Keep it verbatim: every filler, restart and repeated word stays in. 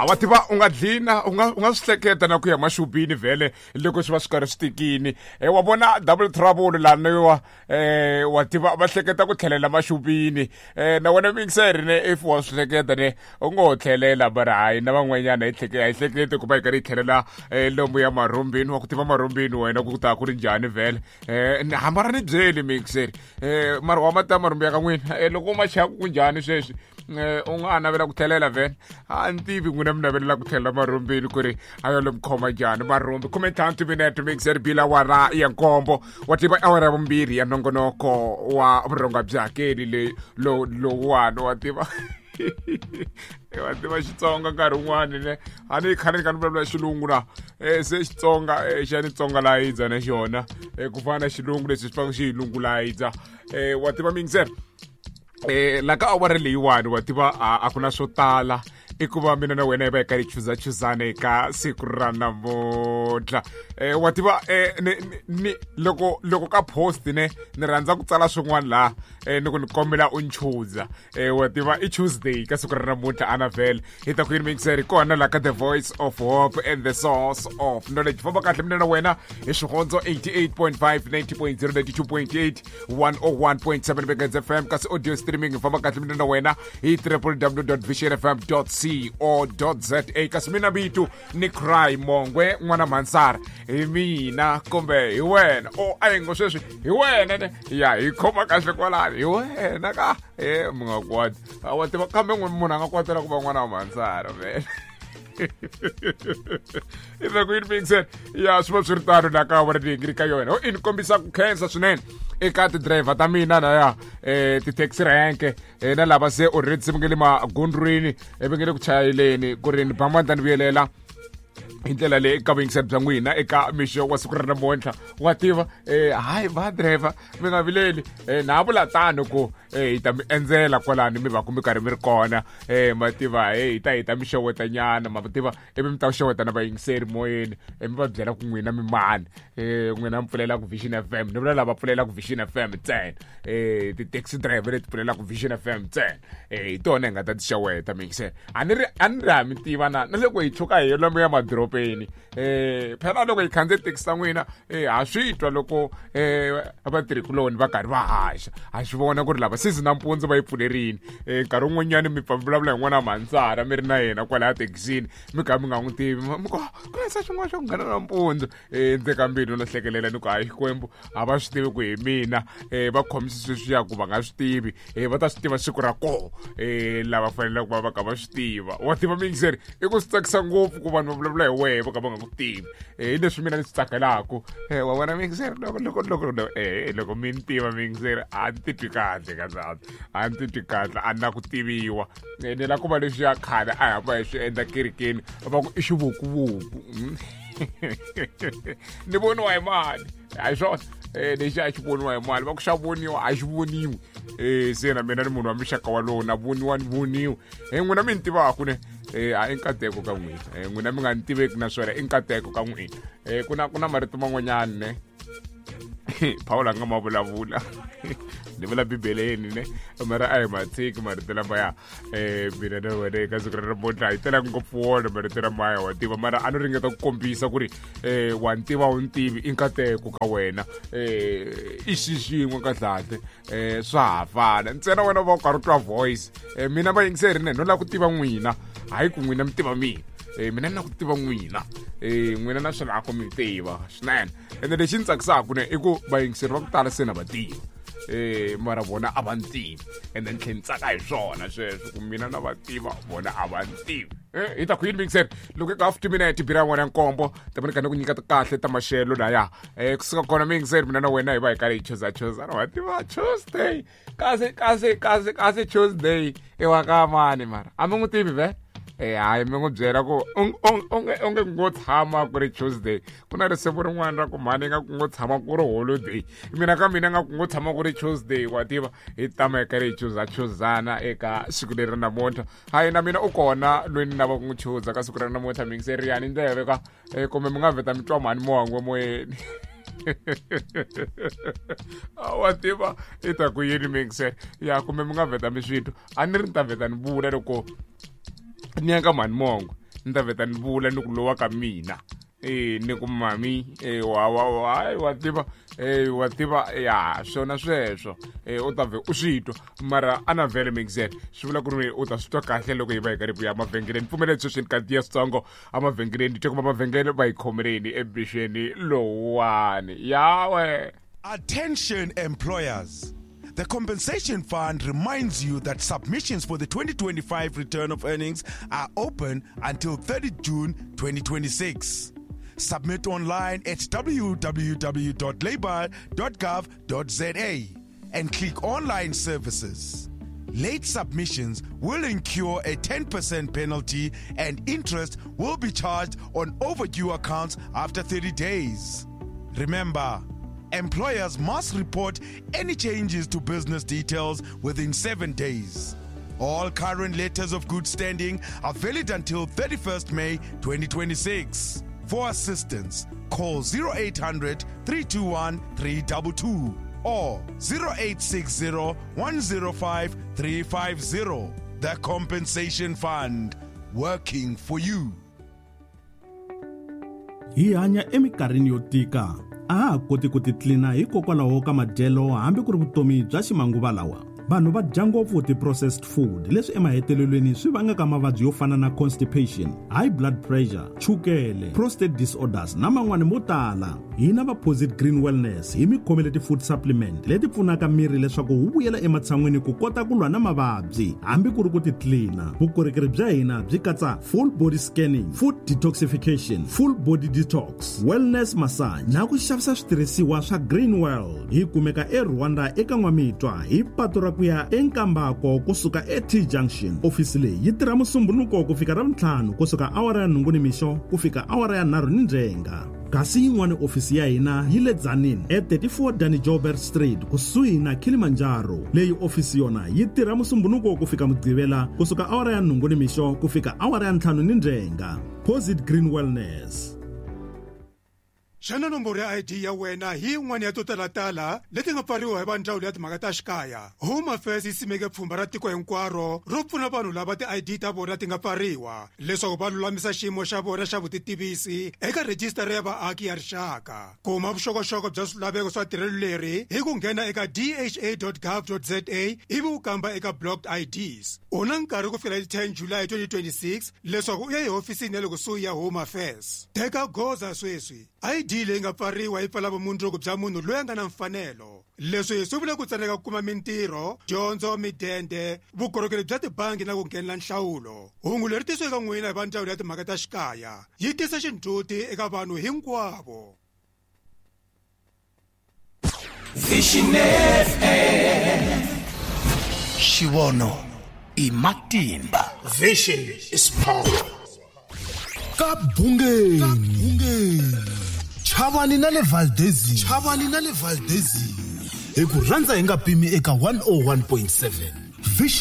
A wa tiva u nga dlina u nga u nga swi hleketa na ku ya maxopini vhele loko swi va swi karhi swi tikini. E wa vona double trouble laniwa, eh wa tiva va hleketa ku tlhelela maxopini. Eh na wena mixer ne if wa swi hleketa ne u ngo tlhelela, mara hayi na van'wanyana hi hleke hi hlekete ku va hi karhi hi tlhelela lomu ya marhumbini. Wa ku tiva marhumbini wena ku ta ku ri njhani vhele? Eh hamba ra ni byeli mixer, eh mara wa mata marhumbi ya ka n'wina loko u ma chaya ku njhani sweswi? U nga navela ku tlhelela vhele? A ni tivi n'wina mi navelela ku tlhelela marhumbini ku ri a yo le mi khoma njhani marhumbi. Khume ntlhanu timinete mixer bila wara ya nkombo, wa tiva awara ya vumbirhi ya nongonoko wa vurhonga bya hakeli leyi lowuwani. Wa tiva wa tiva Xitsonga nkarhi wun'wani ne a ni khale ni kha ni vulavula xilungu na se Xitsonga xa ni Tsonga layidza na xona ku fana na xilungu leswi swi fanele xi hi lungulayidza. Wa tiva mixer, eh la ka awara leyiwani wa tiva a ku na swo tala i ku va mina na wena hi va hi karhi hi chuzachuzana eka siku ra namuntlha. Eh wa tiva eh ni ni loko loko ka post ne ni rhandza ku tsala swin'wana laha eh ni ku ni kombela u nchuza. Eh wa tiva i Tuesday ka siku ra namuntlha ana vhele hi ta ku yini mixer kona la ka The Voice of Hope and the Source of Knowledge. Famba kahle mina na wena hi Xihondzo eighty-eight point five, ninety point zero, ninety-two point eight, one oh one point seven Megahertz F M kasi audio streaming. Famba kahle mina na wena hi w w w dot vision f m dot co dot z a. Kasi mina vito ni Cry Mongwe n'wana Mhansara, hi mina kumbe hi wena o a hi ngo sweswi hi wena ne ya hi khoma kahle kwalani hi wena ka e mi nga kwati wa tiva kambe munhu a nga kwatela ku va n'wana wa Mhansara vele. I ta ku yini mixer ya swi va swi ri tano la ka awara leyi ngi ri ka yona. I ni kombisa ku khensa swinene eka ti-driver ta mina na ya eh ti-taxi rank na lava se already se va nge le magondrweni va nge le ku chayeleni ku ri ni ba mandla ni vuyelela hi ndlela leyi eka vuyingiseri bya n'wina eka mixo wa siku ra namuntlha. Wa tiva eh hayi va driver mi nga vileli, eh na vula tano ku eh hi ta mi endzela kwalani mi va ku mi karhi mi ri kona. Eh ma tiva eh hi ta hi ta mi xewetanyana ma tiva ivi mi ta xeweta na vayingiseri moyeni mi va byela ku n'wina mi mani, eh n'wina mi pfulela ku Vision F M, ni vula lava pfulela ku Vision F M ntsena, eh ti-taxi driver leti pfulelaka Vision F M ntsena, eh hi tona hi nga ta ti xeweta mixer. A ni ri a ni ri ha mi tiva na na loko hi tshuka hi lomu ya madorobeni eh phela loko hi khandziye taxi ta n'wina eh ha swi twa loko eh vatirhikuloni va karhi va haxa, ha swi vona ku ri lava season nampundzu va yi pfulerini. Eh nkarhi wun'wanyani mi pfa mi vulavula hi n'wana Mhansara mi ri na yena kwalaya thekisini mi kha mi nga n'wi tivi mi ku ku hisa xin'wana xo nghena nampundzu. Eh ndzi ka mbilu no hlekelela ni ku hayi Xikwembu a va swi tivi ku hi mina, eh va khomise sweswiya ku va nga swi tivi, eh va ta swi tiva siku ra koho eh lava faneleke ku va va kha va swi tiva. Wa tiva mixer i ku swi tsakisa ngopfu ku vanhu va vulavula hi wehe va kha va nga ku tivi, eh hi leswi mina ni swi tsakelaku. Eh wa vona mixer loko loko loko eh loko mi ni tiva mixer a ni titwi kahle kahle a ni titwi kahle a ni na ku tiviwa. Ni la ku va leswi ya khale a hamba hi swi endla kerekeni va ku i xivukuvuku ni voniwa hi mali a hi swona eh lexi a xi voniwa hi mali va ku xa voniwa a xi voniwi. Eh se na mina ni munhu wa mixaka walowo na voniwa ni voniwa. Eh n'wina mi ni tivaku ne eh a i nkateko ka n'wina, eh n'wina mi nga ni tiveki naswona i nkateko ka n'wina. Eh ku na ku na marito man'wanyana ne Paul a nga ma vulavula ni vula bibeleni ne mara a hi matshiki marito lamaya eh mina na wena eka siku ra namuntlha hi tela ngopfu wona marito lamaya wa tiva mara a no ringeta ku kombisa ku ri eh wa ni tiva u ni tivi i nkateko ka wena, eh i xi xin'we kahlekahle eh swa ha fana ntsena wena va u karhi u twa voice. Eh mina vayingiseri ne no lava ku tiva n'wina hayi ku n'wina mi tiva mina, eh mina ni lava ku tiva n'wina, eh n'wina na swi lava ku mi tiva swinene. Ende lexi ni tsakisaka ne i ku vayingiseri va ku tala se na va tiva, eh mara vona a va ni tivi ende ni tlhela ni tsaka hi swona sweswo ku mina na va tiva vona a va ni tivi. Eh hi ta ku yini mixer loko eka half minute bira n'wana nkombo ta va ni ku nyika kahle ta maxelo laya eh kusuka kona mixer mina na wena hi va hi karhi hi chuza chuza wa tiva Tuesday kasi kasi kasi kasi Tuesday i wa ka mani mara a mi n'wi tivi ve eh hayi mi n'wi byela ku onge onge ngo tshama ku ri Tuesday ku na risimu rin'wana ra ku mhani nga ku ngo tshama ku ri holiday mina ka mina nga ku ngo tshama ku ri Tuesday wa tiva hi tama hi karhi hi chuza chuzana eka siku leri namuntlha. Hayi na mina u kona loyi ni lava ku n'wi chuza ka siku ra namuntlha mixer yani ndleve ka kumbe mi nga vheta mi twa mhani Mongwe moyeni wa tiva i ta ku yini mixer ya kumbe mi nga vheta mi switwa a ni ri ni ta vheta ni vula loko ni ya ka mhani Mongwe ni ta vheta ni vula ni ku lowa ka mina eh ni ku mami eh wa wa wa wa tiva eh wa tiva ya swona sweswo eh u ta vhe u swi twa mara a na vhele mixer swi vula ku ri u ta swi twa kahle loko hi va hi karhi ku ya mavhengeleni pfumeleli sweswi ni kantiya switsongo emavhengeleni twa kuma mavhengele va hi khomeleni ebixeni lowuwani yawe. Attention employers. The Compensation Fund reminds you that submissions for the twenty twenty-five return of earnings are open until thirtieth June twenty twenty-six. Submit online at w w w dot labour dot gov dot z a and click Online Services. Late submissions will incur a ten percent penalty and interest will be charged on overdue accounts after thirty days. Remember, employers must report any changes to business details within seven days. All current letters of good standing are valid until thirty-first May twenty twenty-six. For assistance, call zero eight hundred, three two one, three two two or zero eight six zero, one zero five, three five zero. The Compensation Fund, working for you. Hi hanya eminkarhini yo tika. A ha koti ku titlina hikokwalaho ka madyelo hambi ku ri vutomi bya ximanguva lawa. Vanhu va dya ngopfu ti-processed food leswi emahetelelweni swi vangaka mavabyi yo fana na constipation, high blood pressure, chukele, prostate disorders na man'wani mo tala. Hina va Posit Green Wellness hi mi khomele ti-food supplement leti pfunaka miri leswaku wu vuyela ematshan'wini ku kota ku lwa na mavabyi hambi ku ri ku titlina. Vukorhokeri bya hina byi katsa full body scanning, food detoxification, full body detox, wellness massage na ku xavisa switirhisiwa swa Green World. Hi kumeka eRwanda eka N'wamitwa hi patu ra ku ya eNkambako kusuka e-T Junction. Ofisi leyi yi tirha Musumbhunuko ku fika Ravuntlhanu kusuka awara ya nhungu nimixo ku fika awara ya nharhu ni ndzhenga. Kasi yin'wana ofisi ya hina yi le Tzaneen e thirty-four Danny Joubert Street kusuhi na Kilimanjaro. Leyi ofisi yona yi tirha Musumbhunuko ku fika Mugqivela kusuka awara ya nhungu nimixo ku fika awara ya ntlhanu ni ndzhenga. Posit Green Wellness. Xana nomboro ya I D ya wena hi yin'wana ya to talatala leti nga pfariwa hi va ndzawulo ya timhaka ta xikaya? Home Affairs yi simeke pfhumba ra tiko hinkwaro ro pfuna vanhu lava ti-I D ta vona ti nga pfariwa leswaku va lulamisa xiyimo xa vona xa vutitivisi eka rhejisitara ya vaaki ya rixaka. Kuma vuxokoxoko bya swilaveko swa tirhelo leri hi ku nghena eka d h a dot gov dot z a ivi u kamba eka blocked I Ds. U na nkarhi ku fikela hi ten July twenty twenty-six leswaku u ya ehofisini ya le kusuhi ya Home Affairs. Teka goza sweswi. I D leyi nga pfariwa yi pfala vumundzuku bya munhu loyi a nga na mfanelo. Leswi swi vula ku tsaneka ku kuma mintirho, dyondzo, midende, vukorhokeri bya tibangi na ku nghenela nhlawulo. Hungu leri tisiweke eka n'wina hi va ndzawulo ya timhaka ta xikaya yi tisa xindzhuti eka vanhu hinkwavo. Vision F M. Xivono i matimba. Vision is power. Ka bungeni. Chavani na le Valdezi. Chavani na le Valdezi. Hi ku rhandza hi nga pimi eka one oh one point seven. Vision